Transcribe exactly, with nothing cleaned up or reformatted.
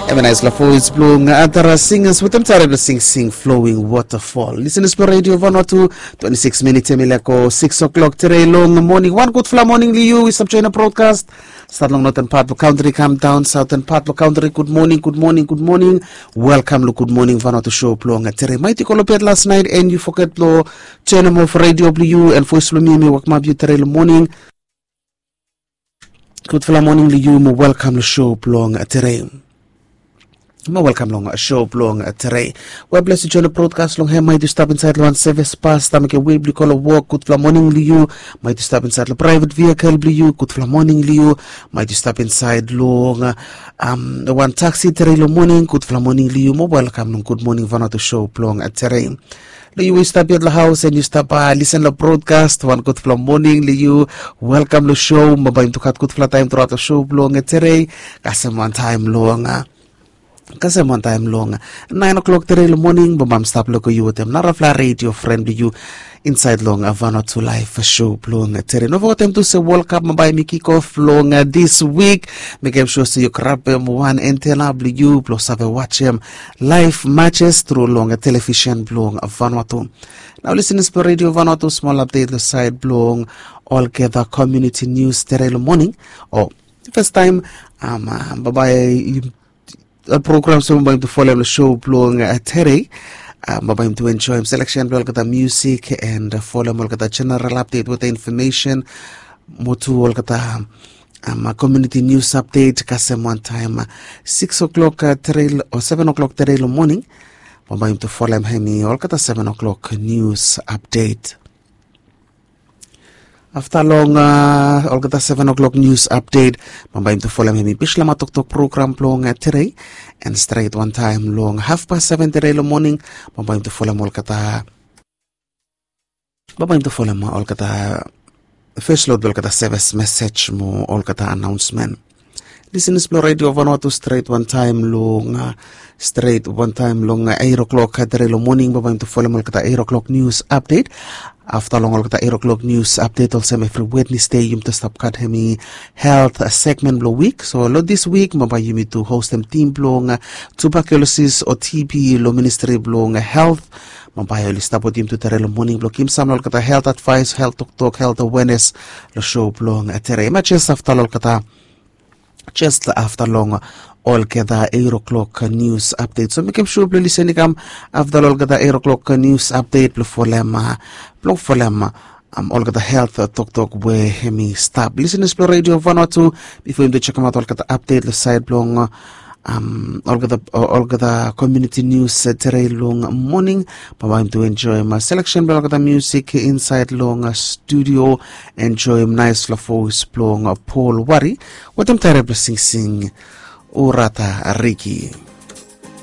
Eva nais la voes blong Adara Singers wetem tare blong singsing Flowing Waterfall. Lisenas blong Radio Vanuatu, twenty-six minutes em i lako six o'clock tere long moning. Wan gudfala moning long yu i stap join na broadcast. Stat long northern part blong country, kam down southern part blong country. Good morning, good morning, good morning. Welcome long Good Morning Vanuatu show blong tere. Maiti kolopet last night and you forget blong turn em off radio blong yu and voice blong mi mi wakmap yu tere long moning. Gudfala moning long yu mo welkam long show blong tere. Mo welkam long show blong tere. We ples yu join long broadcast long hem, maiti yu stap insait long wan sevis bas, stap mekem wei blong yu go long wok, gudfala moning long yu. Maiti yu stap insait long private vehicle blong yu, gudfala moning long yu. Maiti yu stap insait long um, wan taxi tere long moning, gudfala moning long yu mo welkam long Good Morning Vanuatu show blong tere. Long yu we yu stap yet long haus and yu stap lisen long broadcast, wan gudfala moning long yu. Welkam long show, bambae yumi tu gat gudfala taem truaot long show blong tere. Kasem wan taem long kasem wan taem long nine o'clock tere long moning, bambae mi stap loko yu wetem narafala radio fren blong yu insait long Vanuatu Live show blong tere. No fogetem tu se World Cup bambae mi kick off long this week. Mekem sua se yu grabem wan antena blong yu blong save wajem live matches tru long television blong Vanuatu. Nao lisenas blong Radio Vanuatu, smol update long sait blong olgeta community news tere long moning. O fastaem, bambae programs we bambae yumi tu folem long show blong tere. Bambae yumi tu enjoem selection blong olgeta music and folem olgeta general update wetem information mo tu olgeta community news update kasem wan taem six o'clock tere o seven o'clock tere long moning. Bambae yumi tu folem hemi olgeta seven o'clock news update. Afta long olgeta seven o'clock news update, bambae yumi tu folem hemi bislama toktok program blong tere. And stret wan taem long hafpas seven tere long moning, bambae yumi tu folem olgeta bambae yumi tu folem olgeta fes lod blong olgeta sevis mesej mo olgeta anaonsmen. Lisenas blong Radio Vanuatu, stret wan taem long stret wan taem long eight o'clock tere long moning, bambae yumi tu folem olgeta eight o'clock news update. Afta long olgeta eight o'clock news update olsem evri Wednesday yumi tu stap gat hemi health segment blong wik. So long this week bambae yumi tu hostem tim blong tuberculosis o TB long ministri blong health. Bambae oli stap wetem yumi tu tere long moning blong givim sam long olgeta health advice, health toktok, health awareness long show blong tere. Hemia jes afta long olgeta jes afta long olgeta eight o'clock news update. So mekem sua blong lisen i kam afta long olgeta eight o'clock news update blong folem blong folem olgeta health toktok we hemi stap. Lisenas blong Radio Vanuatu, bifo yumi tu jekemaot olgeta update long sait blong olgeta community news tere long moning, bambae yumi tu enjoem selection blong olgeta music insait long studio. Enjoem naesfala voes blong Paul Wari wetem tare blong singsing Urata Riki.